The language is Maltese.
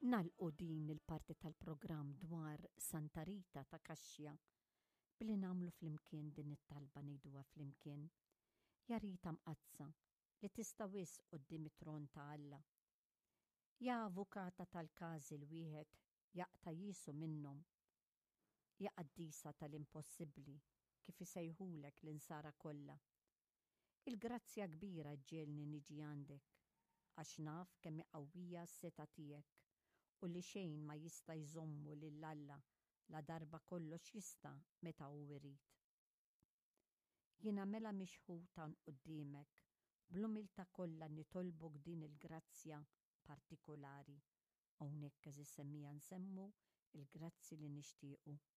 Nagħlqu din il-parti tal-programm dwar Santa Rita ta' Kaxxja billi nagħmlu flimkien din it-talba ngħiduha flimkien. Ja Rita Mqaddsa, li tista' wisq quddiem it-tron ta' Alla. Ja avukata tal-każi l-wieħed jaqta' jiesu minnhom. Ja qaddisa tal-impossibbli, kif isejħulek l-insara kollha. Il-grazzja kbira ġġegħelni niġi għandek, għax naf kemm hi qawwija s-setgħa tiegħek u li xejn ma jista' jżommu lil Alla ladarba kollox jista' meta hu jrid. Jiena mela mixħut hawn quddiemek, bl-umiltà kollha nitolbok din il-grazzja partikulari. Hawnhekk, għeżież semmiegħa, nsemmu l-grazzi li nixtiequ.